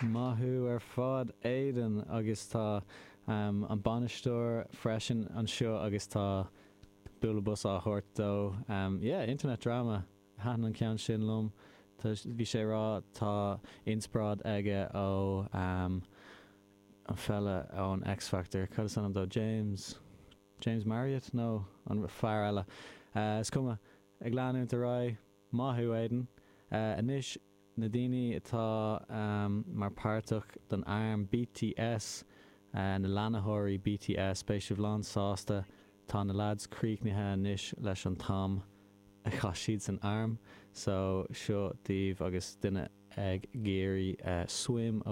Maith thú ar fad, Aidan, agus tá an bainisteoir freisin anseo agus tá bualadh bos á thabhairt dó. Yeah, internet drama. Thaitin an ceann sin liom. Bhí sé ag rá tá inspioráid aige ó an fella ón X Factor. Cad is ainm dó? James James Marriott? No, an fear eile. Is cuma. Ag leanúint ar aghaidh. Maith thú, Aidan. Anois na daoine atá mar páirteach don arm BTS, na leanaitheoirí BTS, beidh sibh lán sásta, tá na lads críochnaithe anois leis an t-am a chaith siad san arm. So, seo daoibh agus duine ag iarraidh Swim ó.